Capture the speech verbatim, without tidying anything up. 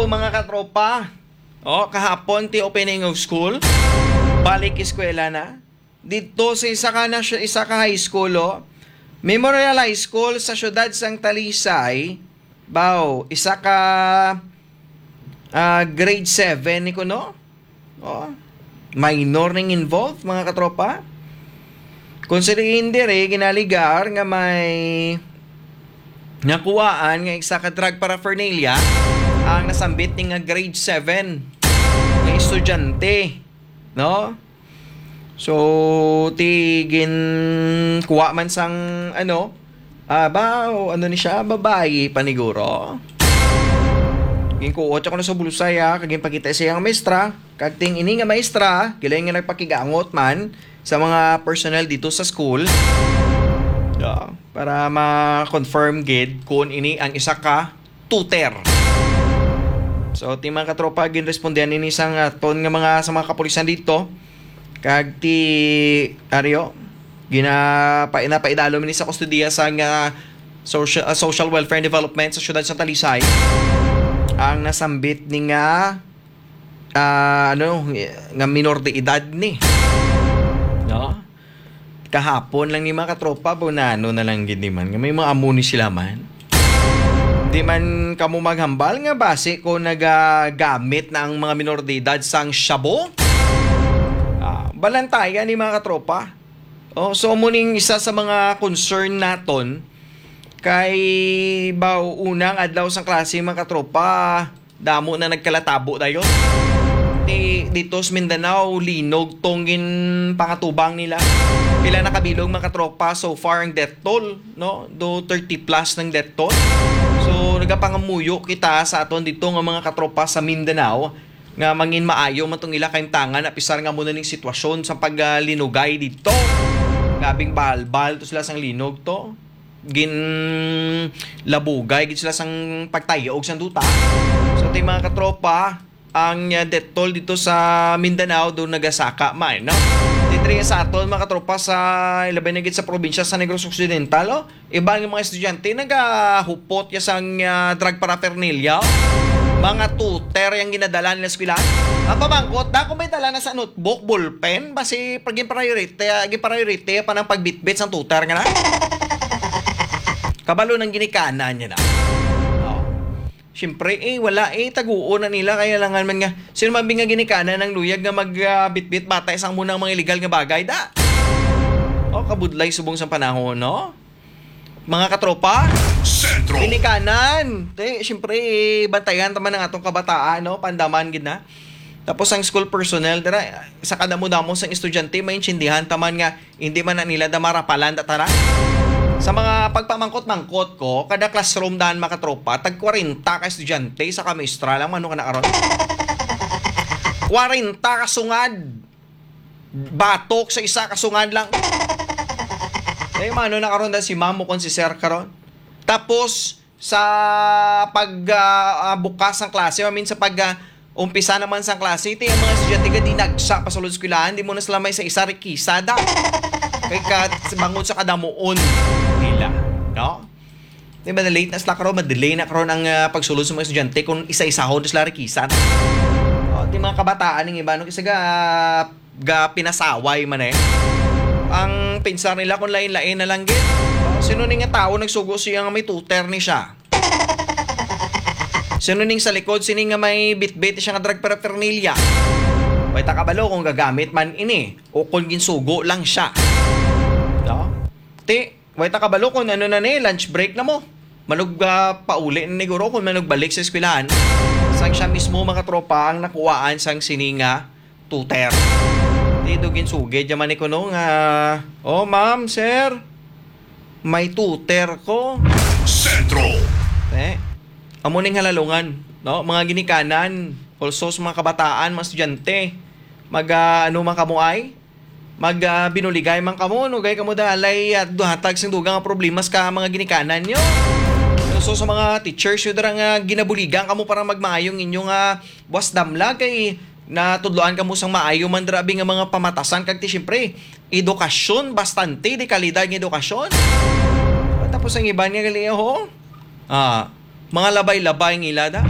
Mga katropa, oh, kahapon ti opening of school. Balik eskwela na. Dito sa isa ka na siya, isa ka high school, oh. Memorial High School sa siyudad sang Talisay. Baw, isa ka, ah, grade seven ni kuno. Oh. Minor ning involved, mga katropa. Kung sa diin diri, ginaligar nga may nakuhaan nga isa ka drug paraphernalia ang nasambit ni nga grade seven nga estudyante, no? So, ti ginkuha man sang, ano, ah, ba, o ano ni siya, babayi paniguro. Ginkuot siya kuno sa bulsa ya, kag ginpakita sa iyang maestra. Kag ting ini nga maestra, gilayon nga nagpakigangot man sa mga personnel dito sa school. Yeah, para ma-confirm gid kung ini ang isa ka tutor. So, ti mga katropa, ginrespondihan ini sang aton nga mga, sa mga kapulisan dito. Kag ti Ario, gina-, pa-, napaidalom ini sa kustodiya sa nga social, ah, Social Welfare and Development sa siyudad sa Talisay. Ang nasambit ni nga, ah, ano, nga minor de edad ni. No? Kahapon lang ni mga katropa, bunano na lang gid ni man. Nga may mga amo ni sila man. Di man kamo maghambal nga basi ko nagagamit na ang mga minor de edad sang shabu. Ah, balantayan ni mga katropa. Oh, so mo ning isa sa mga concern naton kay baw unang adlaw sang klase, mga katropa, damo na nagkalatabo dayon. Ti dito sa Mindanao, linog tong ginpangatubang nila. Pila na kabilog, mga katropa, so far ang death toll, no? Do thirty plus ng death toll. So, nagapangamuyo kita sa aton dito nga mga katropa sa Mindanao nga mangin maayo man tong ila kaimtangan, apisar nga muna ning sitwasyon sa paglinugay dito. Gabing balbal to sila sang linog to. Ginlabugay gid sila sang pagtayog sang duta. So, ti mga katropa, ang, uh, death toll dito sa Mindanao do nagasaka man, no? Ti diri sa aton, mga katropa, sa ilabay na gid sa probinsya sa Negros Occidental, oh, iban nga mga estudyante nagahupot ya sang, ah, drug paraphernalia. Mga tutor yang ginadala nila sa eskwelahan. Ang pamangkot, da kung may dala na sa notebook, ballpen, basi pag ginpriority, ah, ginpriority pa ng pagbitbit sang tutor nga na. Kabalo ng ginikanan niya na. Oh. Siyempre, eh, wala, eh, taguon na nila. Kaya langan man nga, sino man bi nga ginikanan ang luyag nga mag, ah, bitbit bata isang munang mga illegal nga bagay, da? Oh, kabudlay subong sang panahon, no? Mga katropa? Sentro. Ginikanan. Te, siyempre, bantayan ta man ang atong kabataan, no? Pandaman gid na. Tapos ang school personnel, dira, sa kadamo-damo sang estudyante, maintindihan ta man nga hindi man na nila da marapalan da tara. Sa mga pagpamangkot-mangkot ko, kada classroom daan, mga katropa, tag kwarenta ka estudyante, isa ka maestra lang, mano ka na karon? Kwarenta ka sungad. Batok sa isa ka sungad lang. Eh, mano na karon da si ma'am o kon si sir karon? Tapos, sa pag, ah, ah, bukas ng klase, I mean, sa pag, ah, umpisa naman sa klase, ito yung mga estudyante nga dinagsa pa sa eskwelahan, di mo na sila may sa isa rikisa da. Kay ka, bangod sa kadamuon nila, no? Di ba, na-late na sila karon, ma-delay na karon ang, ah, pagsulod sa mga estudyante kung isa-isahon na sila rikisa. O, di mga kabataan, yung iba, no? Kasi ga, ga pinasaway man eh. Ang pensar nila kung lain-lain na lang gid. O, sino ni nga tao nagsugo siya nga may tutor ni siya? Sino ning sa likod sini nga may bitbit siya nga drug paraphernalia? Way ta kabalo kung gagamit man ini o kung ginsugo lang siya. No? Ti, way ta kabalo kung ano na ni, lunch break na mo. Manug, ah, pauli na ni guro kung manugbalik sa eskwelahan. Sang siya mismo, mga tropa, ang nakuhaan sang sini nga tutor. Di do ginsugid yaman ni kuno nga, "Oh, ma'am, sir, may tutor ko." Sentro. Eh, amo ning halalungan, no? Mga ginikanan, also sa mga kabataan, mga estudyante, mag, ah, ano man kamo ay? Mag, ah, binuligay man kamo, no? Gay kamo dalay, ah, duhatag sing dugang nga problema sa mga ginikanan nyo. Also sa mga teachers, yun dira nga ginabuligan kamo para magmaayong inyong, ah, buwas damlag kay natudloan kamo sang maayo man dira abi nga mga pamatasan kag ti siyempre, edukasyon, bastante di kalidad nga edukasyon. Tapos ang iban nga gali, ho? Ah, mga labay-labay nga ila da.